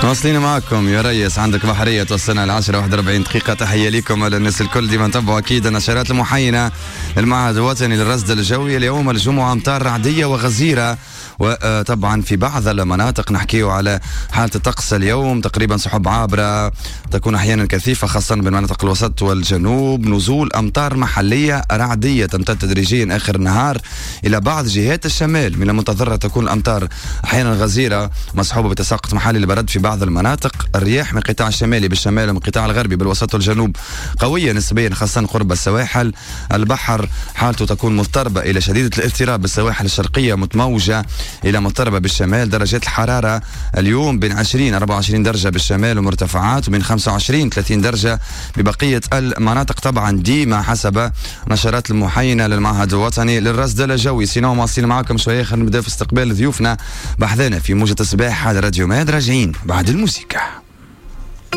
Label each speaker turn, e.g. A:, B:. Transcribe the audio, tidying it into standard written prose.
A: واصلين معكم يا ريس، عندك بحرية توصلنا ل 10 41 دقيقة. تحية لكم للناس الكل، ديما نتبعوا أكيد النشرات المحينة للمعهد الوطني للرصد الجوي. اليوم الجمعة أمطار رعدية وغزيرة، وطبعا في بعض المناطق. نحكيو على حالة الطقس اليوم، تقريبا سحب عابرة تكون أحيانا كثيفة خاصة بالمناطق الوسط والجنوب، نزول أمطار محلية رعدية تمتد تدريجيا آخر النهار إلى بعض جهات الشمال. من المنتظر تكون الأمطار أحيانا غزيرة مصحوبة بتساقط محلي للبرد في بعض المناطق. الرياح من القطاع الشمالي بالشمال ومن القطاع الغربي بالوسط والجنوب قوية نسبيا خاصة قرب السواحل. البحر حالته تكون مضطربة إلى شديدة الاضطراب بالسواحل الشرقية، متموجة إلى مضطربة بالشمال. درجات الحرارة اليوم بين 20 24 درجة بالشمال ومرتفعات، وبين 25 30 درجة ببقية المناطق، طبعا ديما حسب نشرات المحينة للمعهد الوطني للرصد الجوي. sinon مواصلين معكم شوية، خلينا نبدا في استقبال ضيوفنا بحذانا في موجة الصباح على راديو ماد. راجعين بعد الموسيقى.